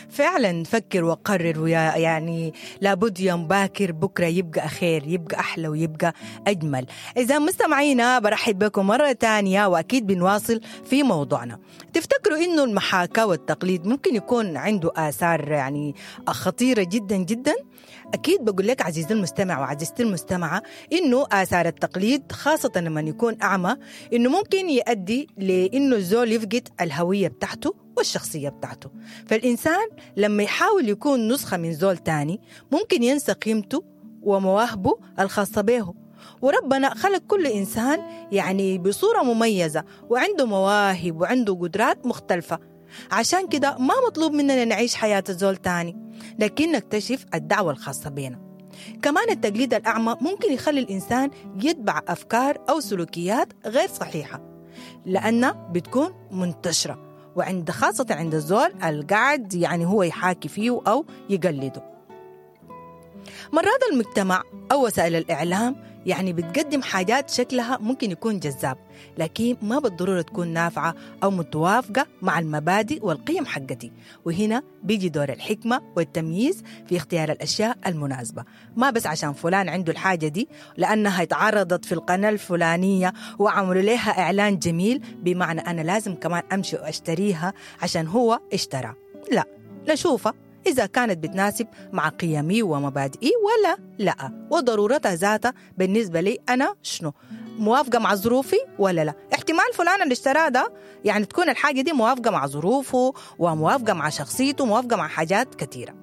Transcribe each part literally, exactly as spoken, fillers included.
فعلا فكر وقرر، ويا يعني لابد يوم باكر بكرة يبقى خير، يبقى أحلى ويبقى أجمل. إذا مستمعينا برحب بكم مرة تانية، وأكيد بنواصل في موضوعنا. تفتكروا إنه المحاكاة والتقليد ممكن يكون عنده آثار يعني خطيرة جدا جدا؟ أكيد بقول لك عزيزي المستمع وعزيزتي المستمعة إنه آثار التقليد خاصة لما يكون أعمى إنه ممكن يؤدي لإنه الزول يفقد الهوية بتاعته والشخصية بتاعته. فالإنسان لما يحاول يكون نسخة من زول تاني ممكن ينسى قيمته ومواهبه الخاصة به. وربنا خلق كل إنسان يعني بصورة مميزة، وعنده مواهب وعنده قدرات مختلفة. عشان كده ما مطلوب مننا نعيش حياة الزول تاني، لكن نكتشف الدعوة الخاصة بينا. كمان التقليد الأعمى ممكن يخلي الإنسان يتبع أفكار أو سلوكيات غير صحيحة، لأنها بتكون منتشرة، وعند خاصة عند الزول القاعد يعني هو يحاكي فيه أو يقلده. مرات المجتمع أو وسائل الإعلام يعني بتقدم حاجات شكلها ممكن يكون جذاب، لكن ما بالضرورة تكون نافعة أو متوافقة مع المبادئ والقيم حقتي. وهنا بيجي دور الحكمة والتمييز في اختيار الأشياء المناسبة، ما بس عشان فلان عنده الحاجة دي لأنها اتعرضت في القناة الفلانية وعملوا لها إعلان جميل، بمعنى أنا لازم كمان أمشي وأشتريها عشان هو اشترى. لا، نشوفها إذا كانت بتناسب مع قيمي ومبادئي ولا لا، وضرورتها ذاتها بالنسبة لي أنا شنو، موافقة مع ظروفي ولا لا. احتمال فلان اللي اشتراه ده يعني تكون الحاجة دي موافقة مع ظروفه وموافقة مع شخصيته وموافقة مع حاجات كثيرة.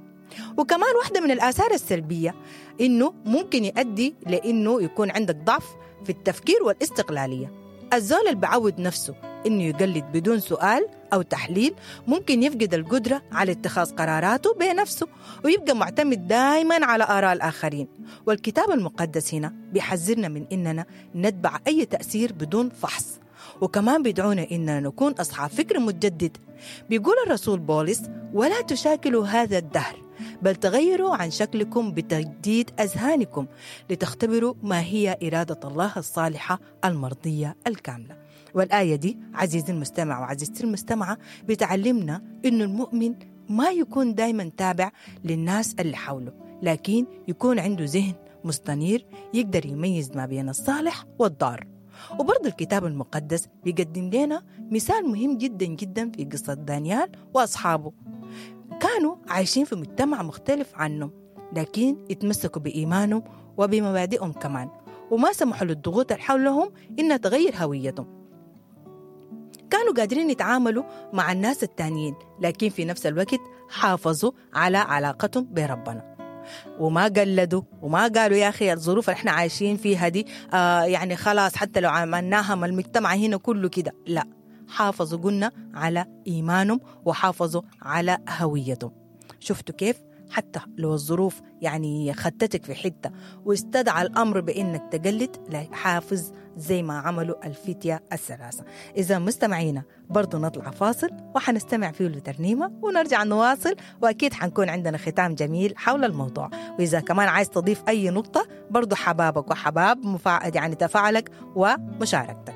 وكمان واحدة من الآثار السلبية إنه ممكن يؤدي لإنه يكون عندك ضعف في التفكير والاستقلالية. الزول اللي بعود نفسه إنه يقلد بدون سؤال أو تحليل ممكن يفقد القدرة على اتخاذ قراراته بنفسه، ويبقى معتمد دائما على آراء الآخرين. والكتاب المقدس هنا بيحذرنا من إننا نتبع أي تأثير بدون فحص، وكمان بيدعونا إننا نكون أصحاب فكر متجدد. بيقول الرسول بولس: ولا تشاكلوا هذا الدهر، بل تغيروا عن شكلكم بتجديد أذهانكم لتختبروا ما هي إرادة الله الصالحة المرضية الكاملة. والآية دي عزيزي المستمع وعزيزتي المستمعة بتعلمنا إنه المؤمن ما يكون دايما تابع للناس اللي حوله، لكن يكون عنده ذهن مستنير يقدر يميز ما بين الصالح والضار. وبرضه الكتاب المقدس بيقدم لنا مثال مهم جدا جدا في قصة دانيال وأصحابه. كانوا عايشين في مجتمع مختلف عنه، لكن اتمسكوا بإيمانهم وبمبادئهم كمان، وما سمحوا للضغوط اللي حولهم إنها تغير هويتهم. كانوا قادرين يتعاملوا مع الناس التانيين، لكن في نفس الوقت حافظوا على علاقتهم بربنا، وما قلدوا وما قالوا يا أخي الظروف اللي احنا عايشين فيها دي آه يعني خلاص حتى لو عملناها ما المجتمع هنا كله كده. لا، حافظوا قلنا على إيمانهم وحافظوا على هويتهم. شفتوا كيف؟ حتى لو الظروف يعني خدتك في حتة واستدعى الأمر بإنك تقلد، لا، حافظ زي ما عملوا الفتية الثلاثة. إذا مستمعينا برضو نطلع فاصل وحنستمع فيه لترنيمة ونرجع نواصل، وأكيد حنكون عندنا ختام جميل حول الموضوع. وإذا كمان عايز تضيف أي نقطة برضو حبابك وحباب مفا... يعني تفاعلك ومشاركتك.